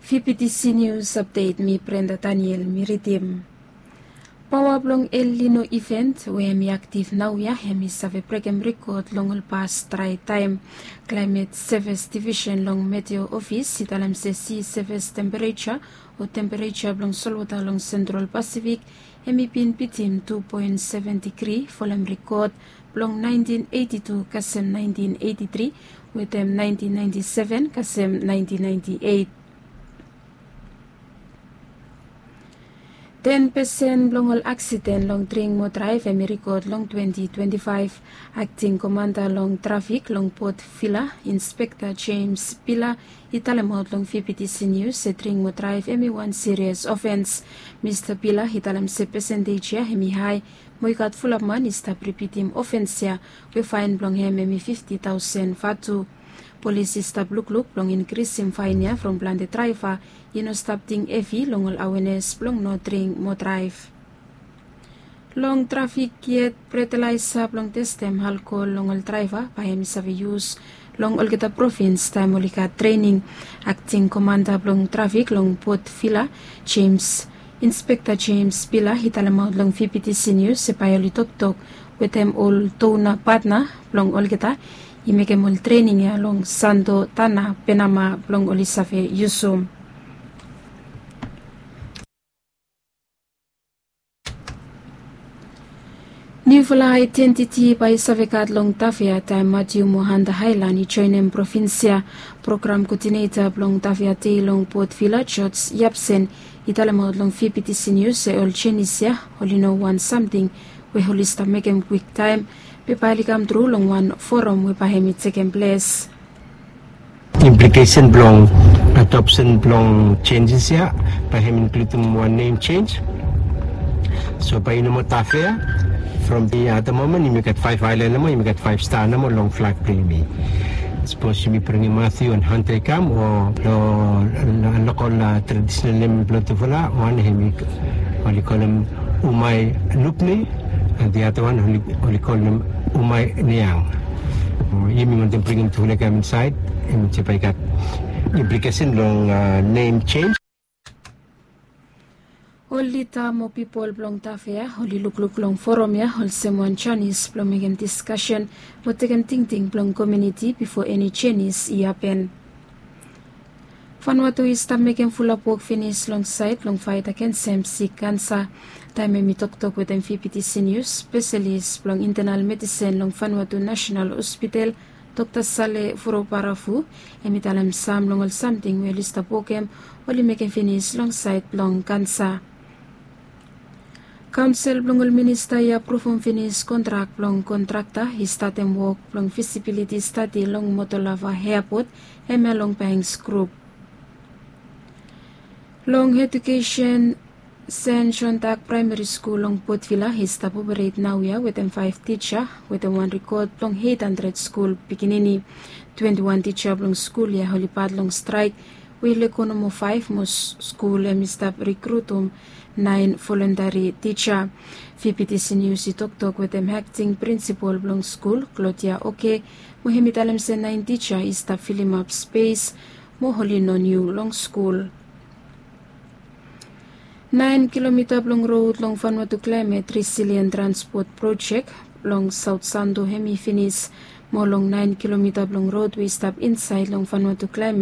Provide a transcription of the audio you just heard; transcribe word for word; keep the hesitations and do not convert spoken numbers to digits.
Fifty C News Update, mi Brenda Daniel, mi ridim. Paoa blong El Nino event we hem i aktif naoia hem i save brekem rekod long ol pas drae taem. Klaemet Sevis Divisen long Meteo Ofis i talem se si sevis tempereja o tempereja blong solwota long Sentral Pasifik hem i bin bitim tu poen seven digri folem rekod blong naentin eiti tu kasem naentin eiti tri wetem naentin naenti seven kasem naentin naenti eit. Ten pesen blong ol aksiden long dring mo draev hem i rekod long twenti twenti faef. Akting komanda long trafik long Port Vila, Inspekta Jemes Bila, i talemaot long Fifty C News se dring mo draev hem i wan sirias ofens. Mista Bila i talem se pesentej ya hem i hae mo i gat fulap man i stap ripitim ofens ya we faen blong hem hem i fifti taosen vatu. Polis i stap lukluk blong inkrisim faen ya from plante draeva i no stap ting hevi long ol awenes blong no dring mo draev. Long trafik yet, bretelaesa blong testem alkohol long ol draeva bae hem i save yus long olgeta provins taem oli gat trening. Akting komanda blong trafik long Port Vila, Jemes, Inspekta Jemes Bila i talemaot long Fifty C News se bae oli toktok wetem ol dona patna blong olgeta i mekem ol trening ya long Santo Ana Penama blong oli save yusum. Niufala aedentiti bae i save gat long Tafea taem Matiu mo Hanta Aelan i joenem provins ya. Program koodineta blong Tafea Dei long Port Vila, George Yapsen, i talemaot long Fifty C News se ol jenis ya oli no wan samting we oli stap mekem kwiktaem, be bae oli kamtru long wan foram we bae hem i tekem ples. Implikesen blong adopsen blong jenjes ya bae hem i inkludim wan nem jenj. So bae i no moa Tafea. From the other moment yumi gat faef aelan nomo, yumi gat faef sta nomo long flag blong yumi. Sapos yumi bringim Matiu and Hanta i kam o long lokol tradisenal nem blong tufala, wan hem i oli kolem Umai Lupni, and the other one oli kolem Umai Niang. Yumi wantem bringim tufala i kam insaed, hem i bae i gat implikesen long nem jenj. Ol lida mo pipol blong Tafea oli lukluk long foram ya olsem wan janis blong mekem diskasen mo tekem tingting blong komuniti bifo eni jenis i hapen. Vanuatu i stap mekem fulap wok finis long saed blong faet agensem sik kansa. Taem hem i toktok wetem Fifty C News, spesalis blong intenal medisen long Vanuatu Nasenal Hospital, Dokta Sale Vurobaravu, hem i talem sam long ol samting we oli stap wokem oli mekem finis long saed blong kansa. Kaonsel blong ol minista i apruvum finis kontrak blong kontrakta i statem wok blong fisibiliti stadi long Motolava Eapot, hemia long Banks Grup. Long edukesen, Sen Jon Dak Praemeri Skul long Port Vila i stap operet naoia wetem faef tija wetem wan rekod blong eit handred skul pikinini. Twenti wan tija blong skul ya oli pat long straek we i lego nomo faef mo skul hem i stap rekrutum naen volontari tija. Fifty C News i toktok wetem akting prinsipol blong skul, Claudia Oke, mo hem i talem se naen tija i stap filimap spes mo oli no niu long skul. Naen kilomita blong rod long Vanuatu Climate Resilient Transport Project long Saot Santo hem i finis, mo long naen kilomita blong rod we i stap insaed long Vanuatu Climate